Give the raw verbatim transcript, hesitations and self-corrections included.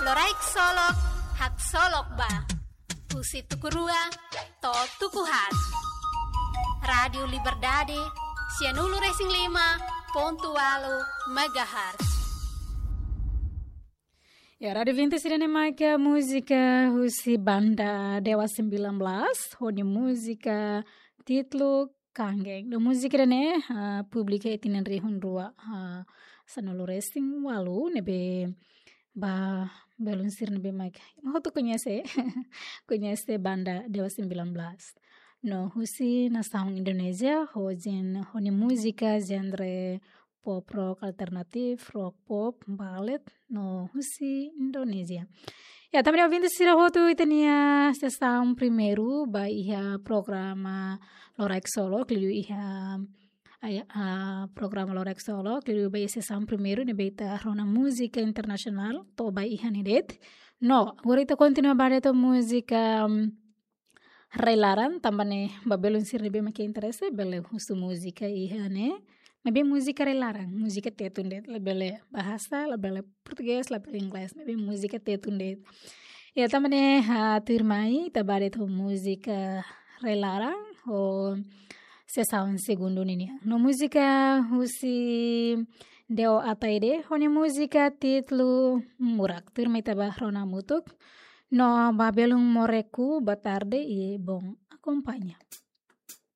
Loraik Solok, haksolok ba. Husi tuku rua to'o tuku haat. Rádiu Liberdade, sianulu-resin-lima pontu ualu megahertz. Ya, Rádiu Vinti sira-ne'e mak múzika husi banda Dewa sembilan belas, ho nia múzika títulu Kangen. No múzika ida-ne'e, ah, publika iha tinan rihun rua, ah, sanulu-resin-ualu, ne'ebé ba belun sira ne'ebé mak ema hotu koñese, koñese banda Dewa sembilan belas. No husi nasaun Indonézia, ho jen-, ho nia múzika genre pop rock alternatif, rock pop, balad, no husi Indonézia. Ya, tanba ne'e ouvinte sira hotu, ita-nia sesaun primeiru ba iha programa Loraik Solok, liuliu iha, ai, ah, programa Loraik Solok, liuliu ba iha sesaun primeiru ne'ebé ita rona múzika internasionál, to'o ba iha ne'e de'it. No, agora ita kontinua ba de'it ho múzika, mm, rai-laran, tanba ne'e ba belun sira ne'ebé mak interese, bele husu múzika iha ne'e. Maibé múzika rai-laran, múzika Tetun de'it, labele bahasa, labele portugés, labele inglés, maibé múzika Tetun de'it. Ya, tanba ne'e, ah, tuirmai, ita ba de'it ho múzika rai-laran, ho sesaun segundu ninian. No múzika husi Deo Ataide, ho nia múzika títulu Murak. Tuirmai ita ba rona hamutuk. No ba belun moreku, boa tarde e bom acompanha.